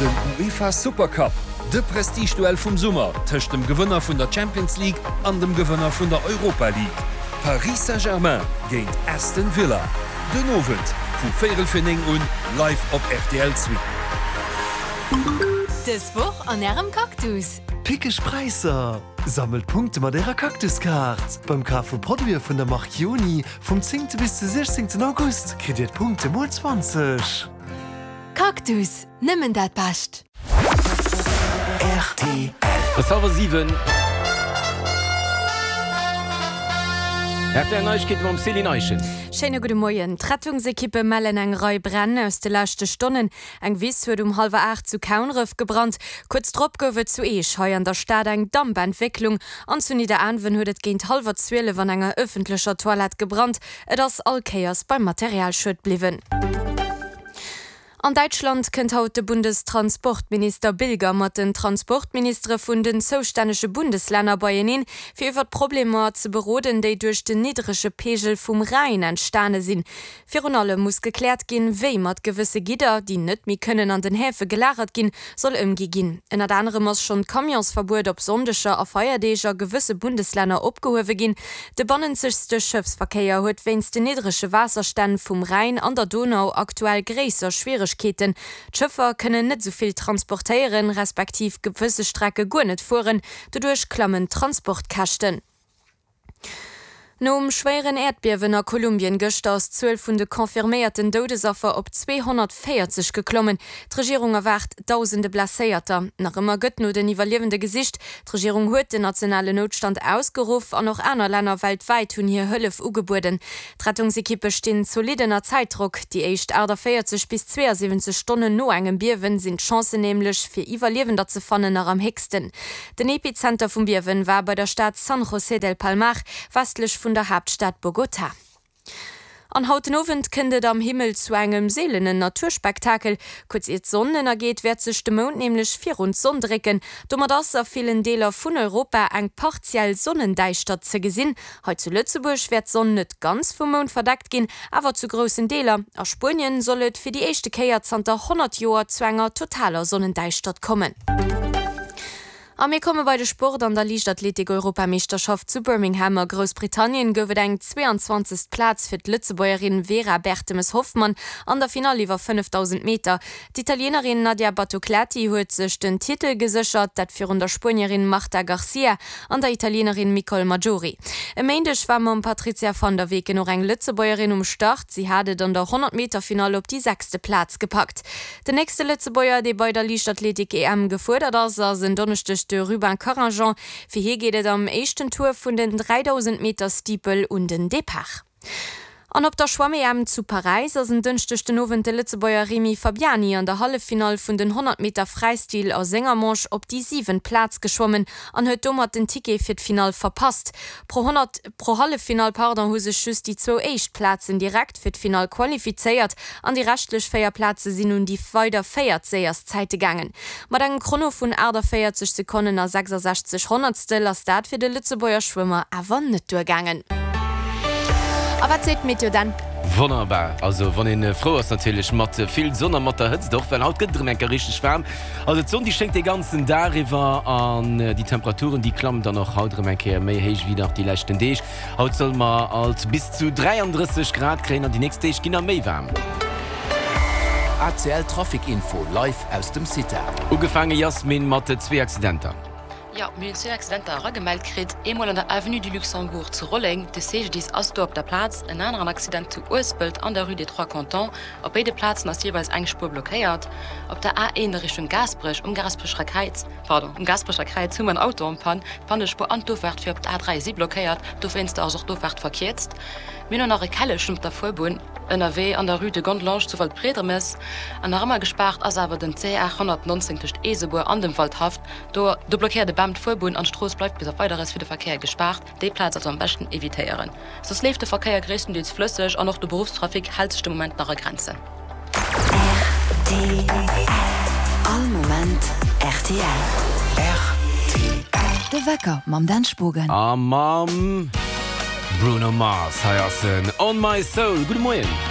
Den UEFA Supercup, de Prestigeduell vum Summer tëscht dem Gewënner vun der Champions League an dem Gewënner vun der Europa League. Paris Saint-Germain géint Aston Villa, den Owend vu véierel fir 9 un live op rtl Zwee. Dës Woch an Ärem Cactus! Pickeg Präisser! Sammelt Punkte mat Ärer Cactus-Kaart! Beim Kaf vu Produite vun der Mark Joni vum 10. Bis de 16. August kritt Dir d'Punkte mol 20. Cactus, nëmmen dat Bescht! Rtl. Et ass hallwer 7. Rtl Neiegkeete mam Céline Eischen. Schéine gudde Moien. D'Rettungsekippe mellen eng Rei Bränn aus de leschte Stonnen. Eng Wiss huet um hallwer 8 zu Kaunref gebrannt. Kuerz drop gouf et zu Eech hei an der Stad eng Dampentwécklung an zu Nidderaanwen huet et géint hallwer 12 an enger ëffentlecher Toilette gebrannt. Et ass all Kéiers beim Materialschued bliwwen. An Däitschland kënnt haut de Bundestransportminister Bilger mat den Transportministere vun den zoustännege Bundeslänner beieneen, fir iwwer d'Problemer ze beroden, déi duerch den niddrege Peegel vum Rhäin entstane sinn. Virun allem muss gekläert ginn, wéi mat gewësse Gidder, déi net méi kënnen an den Häfe gelagert ginn, soll ëmgi ginn. Ënnert anerem ass schonn d'Camionsverbuet op Sonndeger a Feierdeeg a gewësse Bundeslänner opgehuewe ginn. De bannenzegste Schëffsverkéier huet wéinst den niddrege Waasserstänn vum Rhäin an der Donau aktuell gréisser Schwieregkeeten. D'Schëffer kënnen net esou vill transportéieren, respektiv gewësse Strecke guer net fueren. Doduerch klammen d'Transportkäschten. Nom schwéieren Äerdbiewen a Kolumbien gëschter ass d'Zuel vun de confirméierten Doudesaffer op 240 geklommen. D'Regierung erwaart dausende Blesséierter. Nach ëmmer gëtt no den Iwwerliewende gesicht. D'Regierung huet den nationalen Noutstand ausgeruff an och aner Länner weltwäit hunn hir Hëllef ugebueden. D'Rettungsekippe stinn zolidd ënner Zäitdrock. Déi éischt 48 bis 72 Stonnen no engem Biewen sinn d'Chancen nämlech, fir Iwwerliewender ze fannen, nach am héchsten. Den Epizenter vum Biewen war bei der Stad San José del Palmar, westlech vun der Haaptstad Bogotá. An haut den Owend kënnt et am Himmel zu engem seelenen Naturspektakel. Kuerz ier d'Sonn ënnergeet, wäert sech de Mound nämlech virun d'Sonn drécken. Domat ass a villen Deeler vun Europa eng partiell Sonnendäischtert ze gesinn. Hei zu Lëtzebuerg wäert d'Sonn net ganz vum Mound verdeckt ginn, awer zu groussen Deeler. A Spuenien soll et fir déi éischte Kéier zanter 100 Joer zu enger totaler Sonnendäischtert kommen. A mir komme bei de Sport. An der Liichtathletik-Europameeschterschaft zu Birmingham a Groussbritannien gouf et eng 22. Plaz fir d'Lëtzebuergerin Vera Bertemes-Hoffmann an der Finall iwwer 5000 Meter. D'Italienerin Nadia Battocletti huet sech den Titel geséchert, dat virun der Spuenierin Marta Garcia an der Italienerin Micol Maggiori. E Méindeg war mam Patrizia van der Weken och eng Lëtzebuergerin um Start. Si hat et an der 100 Meter Finall op déi sechste Plaz gepackt. Den nächste Lëtzebuerger, dee bei der Liichtathletik-EM gefuerdert ass, ass en Donneschdeg de Rubin Carringeon. Fir hie geet et am éischten Tour vun den 3000 Meter Steeple un den Depart. An op der Schwamm-EM zu Paräis ass en Dënschdeg den Owend de Lëtzebuerger Rémi Fabiani an der Halleffinall vun den 100 Meter Fräistil a senger Manche op déi siwent Plaz geschwommen an huet domat den Ticket fir d'Finall verpasst. Pro 100, pro Halleffinall, pardon, hu sech just déi zwou éischt Plazen direkt fir d'Finall qualifizéiert an déi reschtlech 4 Plaze sinn un déi weider véiert séierst Zäite gaangen. Mat engem Chrono vun 48 Sekonnen a 66 Honnertstel ass dat fir de Lëtzebuerger Schwëmmer awer net duergaangen. A wat seet d'Meteo dann? Wonnerbar, also wann een frou ass natierlech mat vill Sonn a mat der Hëtzt och, well haut gëtt et erëm eng Kéier richteg waarm. Also d'Sonn déi schéngt dee ganzen Dag iwwer an déi Temperaturen déi klammen dann och haut erëm eng Kéier méi héich wéi nach déi leschten Deeg. Haut solle mer alt bis zu 33 Grad kréien an déi nächst Deeg ginn nach méi waarm. ACL Trafic Info live aus dem CITA. Ugefaange Yasmine mat zwee Accidenter. Jo, mir hunn zwee Accidenter eragemellt kritt. Eemol an der Avenue du Luxembourg zu Rolleng, de CGDIS ass do op der Plaz. En aneren Accident zu Uespelt an der Rue des Trois Cantons. Op béide Plazen ass jeeweils eng Spuer blockéiert. Op der A1 a Richtung Gaasperech, um Gaasperecher Kräiz, pardon, um Gaasperecher Kräiz hu mer en Auto en panne. D'Pannespuer an d'Ofaart fir op d'A3 si blockéiert, dowéinster ass och d'Ofaart verkierzt. Mir hunn och nach e Kellechen op der Fuerbunn ënnerwee an der Rue de Gondelange zu Waldbriedemes. An nach ëmmer gespaart ass awer den CR 119 tëscht Eesebuer an dem Waldhaff. Do do blockéiert e Bam d'Fuerbunn an d'Strooss bleift bis op Weideres fir de Verkéier gespaart. Déi Plaz also am beschten evitéieren. Soss leeft de Verkéier gréisstendeels flësseg an och de Beruffstrafic hält sech de Moment nach a Grenzen. Rtl All Moment rtl. Rtl. De Wecker mam Dan Spogen. A mam Bruno Mars. Hei ass en On My Soul. Gudde Moien.